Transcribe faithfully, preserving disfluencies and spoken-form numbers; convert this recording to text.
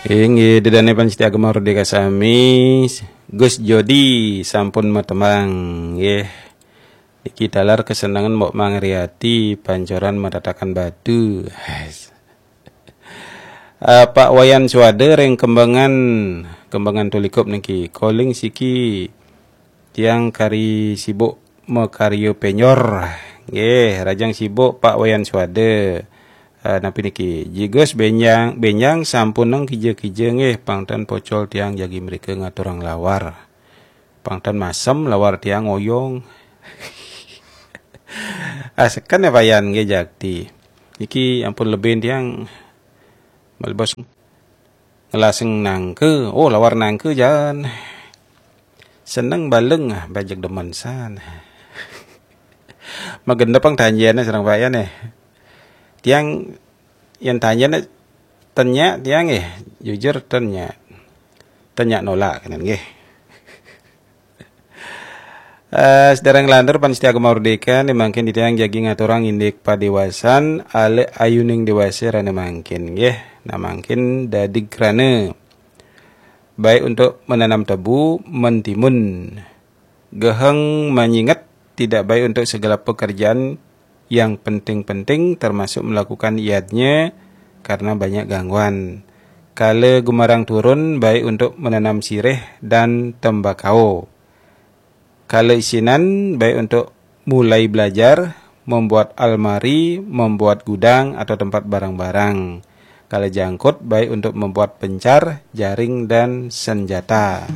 Inggih, ida dané pamiarsa Gema Merdeka sami, Gus Jodi sampun matembang, nggih. Niki taler kesenengan Mbok Mangriati, Pancoran, Matatakan Batu. Eh, Pak Wayan Suwada ring Kembangan, Kembangan Tulikup niki. Calling siki tiang kari sibuk makarya penyor. Nggih, rahajeng sibuk Pak Wayan Suwada. Eh, napi niki? Jigus benjang, benjang sampunang kija-kija nggih, pang ten pocol tiang jagi mrika ngaturang lawar. Pang ten masem lawar tiang oyong. Ah, seken ya payan nggih jakti. Niki ampun lebih tiang malebos ngelaseng nangka. Oh, lawar nangka jan. Seneng baleng, ah, bajeg demen san. Magendep pang tanjana sareng payan eh. Tiang yen tanjana ten nyak tiang eh, jujur ten nyak. Ten nyak nolak kenen nggih. Eh, sedereng lantur pamiarsa Gema Merdeka, niki mangkin titiang jagi ngaturang indik padewasan, ale ayuning dewasa rena mangkin nggih. Nah, mangkin dadi krana baik untuk menanam tebu, mentimun, geheng manyinget, tidak baik untuk segala pekerjaan yang penting-penting, termasuk melakukan yadnya karena banyak gangguan. Kala gumarang turun, baik untuk menanam sirih dan tembakau. Kala isinan, baik untuk mulai belajar, membuat almari, membuat gudang atau tempat barang-barang. Kala jangkut, baik untuk membuat pencar, jaring, dan senjata.